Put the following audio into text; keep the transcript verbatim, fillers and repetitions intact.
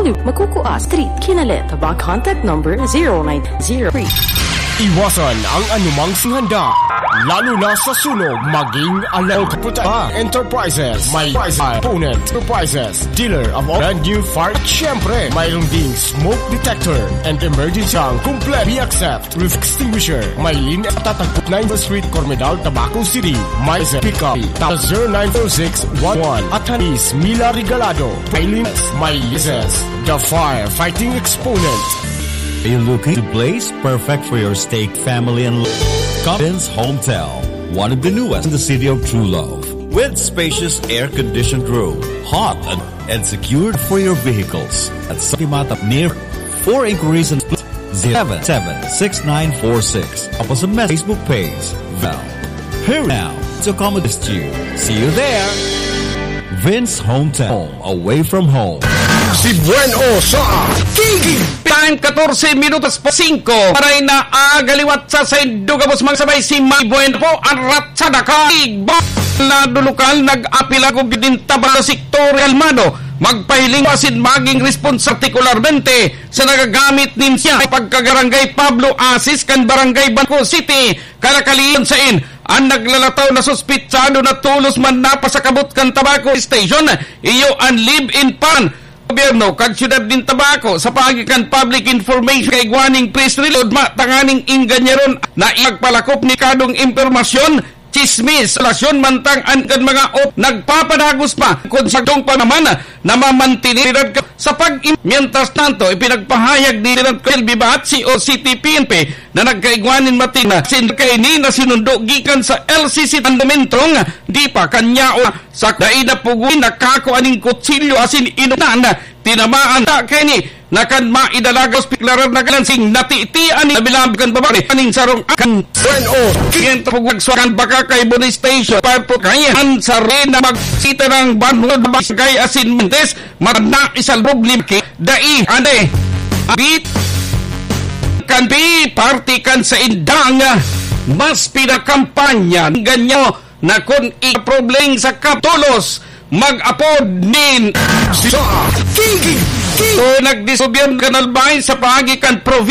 Magkukua Street, Kinalet, Tabak. Contact number zero nine zero three. Iwasan ang anumang singhanda, lalo na sa sunog. Maging alert. Puta Enterprises, may Enterprises, dealer of all brand new fire. At syempre, mayroon ding smoke detector and emergency ang complete. We accept roof extinguisher. May linya sa Tatagput nine Street, Cormedal, Tabaco City. May pick up. Tawag zero nine four six one one. At Hanis Mila Regalado. May linya. May linya. The firefighting exponent. Are you looking to place perfect for your stake, family, and lo-, Confidence Hometel, one of the newest in the city of True Love, with spacious air-conditioned room, hot and, and secured for your vehicles at Santimata near. For inquiries and split, zero seven seven six nine four six. Tapos sa mes-, Facebook page, Val. Here now to accommodate you. See you there. Vince Hometel, away from home. Si Buen O sa Kiki. Time, katorse minutos pa singko. Maray na aga liwat sa saindo gabos, mga sabay, si May Buen po, ang ratsada ka. Igba. Lado lokal, nag-apila ko din taba sa sektor kalmado. Magpahiling asin maging responsable partikularmente sa nagagamit nin siya pagkagarangay Pablo Asis kan Barangay Bangko City, Karakalion sain. An naglalataw na suspitsado na tolos man napasakabot kan Tabaco Station, iyo an live-in partner. Gobyerno kan siyudad nin Tabaco, sa paagi kan public information, kaigwa nin press release, matanganing ingganyaron na ipagpalakop ni kadong impormasyon, chismis, relasyon mantang an kan mga op nagpapadagos pa kun sa dong panaman na mamantini sa pag. Mientras tanto, ipinagpahayag ni Lieutenant Colonel Bibat, C O C T P N P, na nagkaigwa nin matin na sin kaini na sinundo gikan sa L C C Tandumentong, di pa kanya o sa dai na pugoy nakakua nin kutsilyo asin inunan, tinamaan ta kaini na kan maidalaga hospital na galansing natitian ni labi-labi kan babae aning sarong akan. Bueno, kiyento pugwag sa kan baka kay Boni Station, Parpo kaya an sarina magsita ng banhod, bagay asin mintes, Magna isalbog ni Maki, dai, ande. Bit, kan bi, parte kan sa indang, mas pinakampanya, ganyo, na kun ikaprobleng sa kap-, tolos, mag-apod nin. Sa Kiki, Kiki. So, nagdisobyang kanalbay sa paagi kan probinsya.